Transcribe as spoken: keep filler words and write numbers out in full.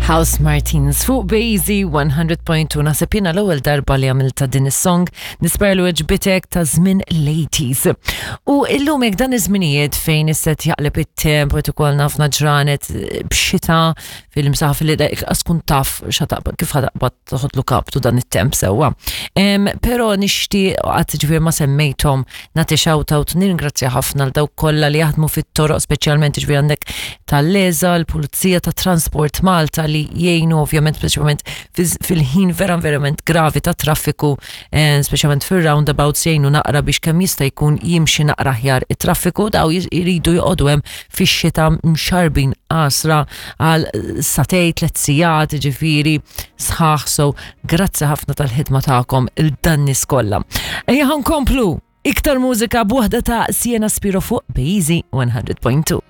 Housemartins fuq Bejzi one hundred point two. Naħseb jiena l-ewwel darba li għamilta din is-song, nispera li għoġbitek, ta' żmien l-eighties. U illum jekk dan iż-żminijiet fejn isset jaqleb it-temp u qed ikollna ħafna ġranet b'xita fil-imsaħ fil kun taf xataqbad kif ħataqbad toħodlu kaptu dan it-temp sewwa. Em, Però nixtieq qatt ġifier ma semmejthom nagħti shout-out, nirringrazzja ħafna l dawk kollha li jaħdmu fit-toroq, speċjalment ġifier għandek tal-LESA, l-Pulizija ta' Transport Malta li jgħinu ovvjament speċjalment fil-ħin vera verament gravi ta' traffiku, eh, speċjalment fil-roundabouts jgħinu naqra biex kemm jista' jkun jimxi naqra aħjar it-traffiku. Daw jridu joqogħdu hemm fix-xita mxarbin qasra għal sagħtejn, tliet sigħat ġifieri sħaħ, so grazzi ħafna tal-ħidma tagħkom il-dan-nies kollha. Ejja ħa nkomplu iktar mużika b'waħda ta' Sienna Spiro fuq Bejzi one hundred point two.